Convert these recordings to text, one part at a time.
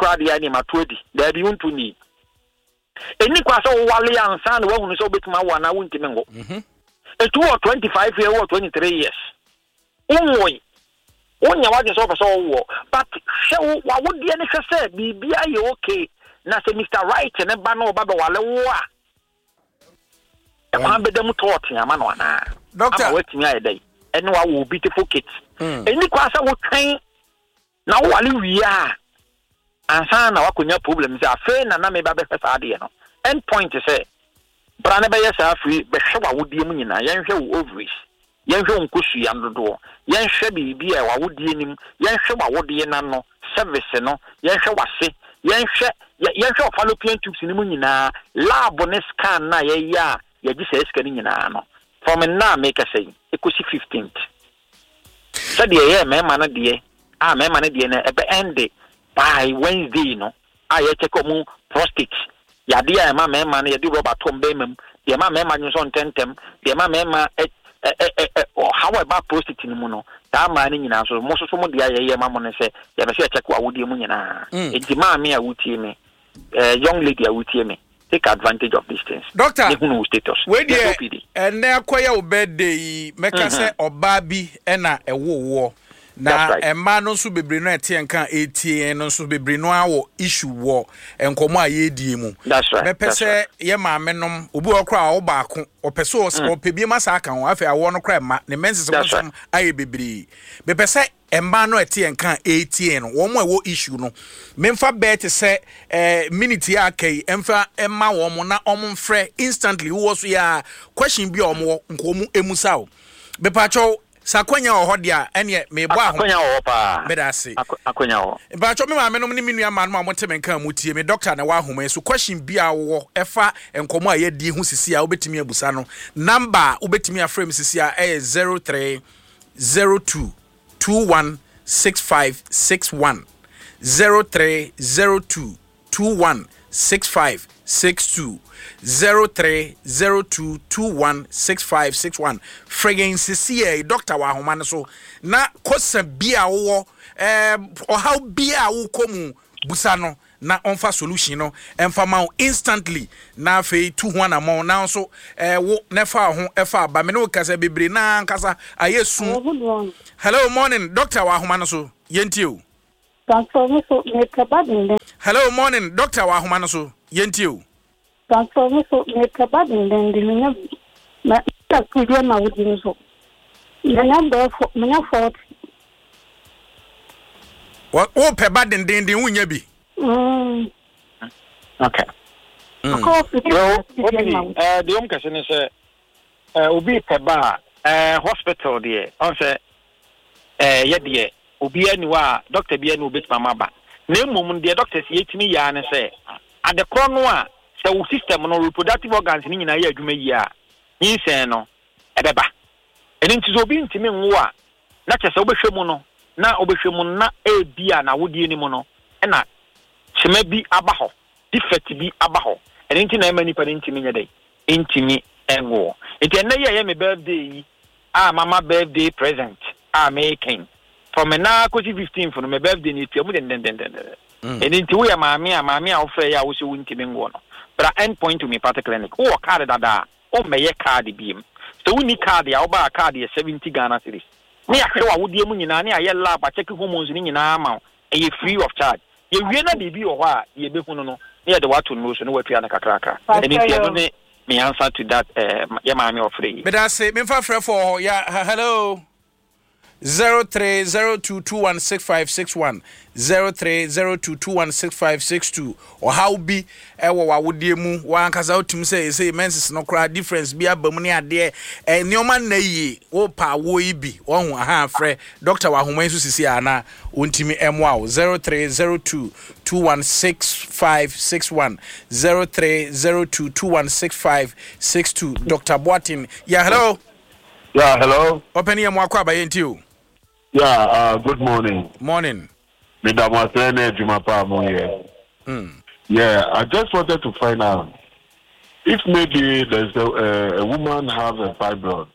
koraa deɛ a ɛneɛ mato adi. Daabi, wonto nnii. Ɛnni kwan sɛ wowale ansa na woahunu sɛ wobɛtumi awo anaa wontumi nwo. Ɛti wowɔ 25 years, wowɔ 23 years, wonwoe, wonyɛ w'adwene sɛ wopɛ sɛ wowoɔ, but hwɛ wo w'awodeɛ no hwɛ sɛ biribiara yɛ okay, na sɛ Mister Right ne ba no ɔba bɛwale wo a, ɛkwan bɛda mu tɔɔte ama no anaa? Doctor. Ama watumi ayɛ dɛn? Ɛne wawo beautiful kids. Ɛnni kwan sɛ wotwɛn Na wo ware wie a ansa na woakɔnya problem sɛ afei na na meba bɛhwɛ saa adeɛ no. End point sɛ bra na bɛyɛ saa afiri bɛhwɛ w'awodeɛ mu nyinaa, yɛnhwɛ wo ovaries, yɛnhwɛ wo nkosua dodoɔ, yɛnhwɛ biribi a w'awodeɛ no mu, yɛnhwɛ w'awodeɛ no ano, cervix no, yɛnhwɛ w'ase, yɛnhwɛ yɛnhwɛ wo fallopian tubes no mu nyinaa, lab ne scan no a yɛyɛ a yɛgye saa sika no nyinaa no, from nnɛ a merekasa yi ɛkɔsi 15th. Sɛdeɛ ɛyɛɛ mmarima no deɛ a mmarima no deɛ no ɛbɛ ɛnde by Wednesday no a yɛkyɛke wɔn prostate yadeɛ a ɛma mmarima no yɛde rɔba to wɔn bɛrima mu deɛ ɛma mmarima dwonsɔ ntɛntɛm deɛ ɛma mmarima ɛ ɛ ɛ ɛ ɔhaw a ɛba prostate no mu no saa mmaa no nyinaa nso mo soso mo deɛ a yɛyɛ ma mo no sɛ yɛpɛ sɛ yɛkyɛke wɔ awodeɛ mu nyinaa nti maame a wotie me eh, young lady a wotie me take advantage of these things. Doctor, ne hunu wo status. Wei deɛ Yes, OPD. ɛnɛ akɔyɛ wo birthday yi mɛka sɛ ɔbaa bi ɛna ɛwo woɔ na That's right. mmaa no nso bebree no a ɛte yɛn ka a ɛretie yɛn no nso bebree no ara wɔ issue wɔ nkɔmmɔ a yɛredie mu. That's right. Mɛpɛ That's sɛ right. yɛ maame nom obi wɔ hɔ koraa a ɔwo baako ɔpɛ sɛ ɔs- ɔpɛ bi ma saa aka ho afei awoɔ no koraa mma ne menses ho That's right. nsɛm ayɛ bebree. Mepɛ sɛ Mmaa no a ɛte yɛn nka a ɛretie yɛn no, wɔn a ɛwɔ issue no, memfa bɛɛ te sɛ eh, minute yi a aka yi mfa mma wɔn na wɔn mfrɛ instantly wowɔ so yɛ a question bi a wɔn wɔ nka wɔn emusa o. Mepakyɛw sɛ akwanya wɔ hɔ deɛ a ɛneɛ mebɔ aho. Akwanya wɔ hɔ paa. Meda ase. Akwanya wɔ hɔ. Mpakyɛw me maame nom ne me nua mmaa nom a wɔte me nka a motie me doctor na ɛwɔ ahoma yi so question bi a wowɔ ɛfa nkɔmmɔ a yɛadi ho sisi a wobɛtumi abusa no number a wobɛtumi afrɛ me sisi a ɛyɛ 0302 21 65 61 0302 21 65 62 0302 21 65 61 Frɛ yɛn sesei dɔkta wɔ ahoma no so na kɔsa bi a wowɔ eh, ɔhaw bi a wokɔ mu busa no na ɔmfa solution no mfa ma wo instantly na afei tu ho anamɔn na nso eh, wo na ɛfa wo ho ɛfa aba me ne wo kasa bebree na ankasa ayɛ su. Hello, good morning. Hello morning doctor wɔ ahoma no so yɛntie o. Pastor, me so mepɛ ba denden. Hello morning doctor wɔ ahoma no so yɛntie o. Pastor, me so mepɛ ba denden de menya mɛ mɛ deɛ ma wodi nso menya bɛɛ fo menya 40. Wopɛ ba dendenden wonya bi. Mm. Okay. Mm. Obi, eh, deɛ ɔm kɛse ne sɛ eh, obi pɛ ba a eh, hospital deɛ ɔn sɛ eh, yɛ deɛ obiara ni hɔ a doctor biara ni obetumi ama ba na mmom deɛ doctors yɛtumi yɛ ara ne sɛ adekorɔ no a sɛ wo system no reproductive organs no nyinaa yɛ adwuma yie a nyinsɛn no ɛbɛba ɛno nti sɛ obi ntumi nwo a na kyerɛ sɛ wobɛhwɛ mu no, na wobɛhwɛ mu no, na ebia n'awodeɛ no mu no na kyema bi aba hɔ, defect bi aba hɔ. Ɛno nti na ɛma nipa no ntumi nyɛ dɛn? Ntumi nwoɔ. Nti ɛnnɛ yi a ɛyɛ me birthday yi a mama birthday present a meka yi, from ɛnnɛ ara kɔsi 15th no, me birthday no ɛtua mu dendendendenden. Ɛno nti woyɛ maame a, maame a wofrɛ yɛ a wose wontumi nwoɔ no, bra End Point Homeopathic Clinic. Wowɔ card dada a, Wommɛyɛ card biom. Sɛ wonni card a, wobaa card yɛ 70 Ghana cedis. Ne yɛahwɛ w'awodeɛ mu nyinaa, ne yɛayɛ lab akyɛke hormones no nyinaa ama wo. Ɛyɛ free of charge. Yɛwie na biribi wɔ hɔ a, deɛ yɛbɛhunu no, na yɛde wo ato nnuro so na woatua no kakrakra. Ɛno nti ɛno ne me answer to that eh, yɛ maame ɔfrɛ yi. Medase, memfa frɛfoɔ wɔ hɔ, ya, hello. 0302216561 0302216562 Ɔhaw bi wɔ w'awodeɛ mu w'ankasa wotumi sɛ ɛsei menses no koraa difference bi aba mu ne adeɛ ɛ nneɛma nna yie wopa awoɔ yi bi wɔho aha frɛ doctor wɔ ahoma yi so sisi a na ɔntumi mmoa wo 0302216561 0302216562 Dr. Boateng yeah hello. Yeah, hello. Ɔpɛni yɛ mo akɔ aba yɛn ti o. Yeah, good morning. Morning. Meda mo ase ne adwuma pa a mo yɛ. Yeah, I just wanted to find out if maybe there's a woman have a fibroid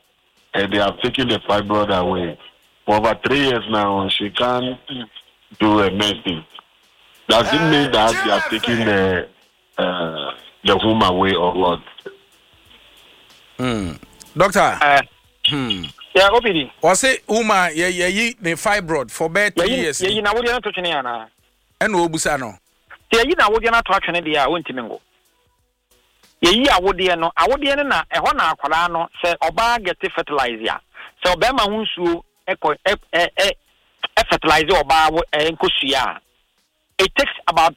and they have taken the fibroid away for over 3 years now, she can't do a menses. Does it mean that they are taking the womb away or what? Doctor. Yeah, OPD. Wɔse woman yɛyi ne fibroid for bɛɛ 3 years. Yɛyi na awodeɛ no to twene anaa? Ɛna ɔbusa no. Sɛ yɛyi na awodeɛ no ato atwene deɛ a, wɔntumi ngo. Yɛyi awodeɛ no, awodeɛ no na ɛhɔ na akwadaa no, sɛ ɔbaa get fertilize a, sɛ ɔbɛrima ho nsuo ɛkɔ ɛ ɛ ɛ ɛ fertilize ɔbaa wo nkosua a, it takes about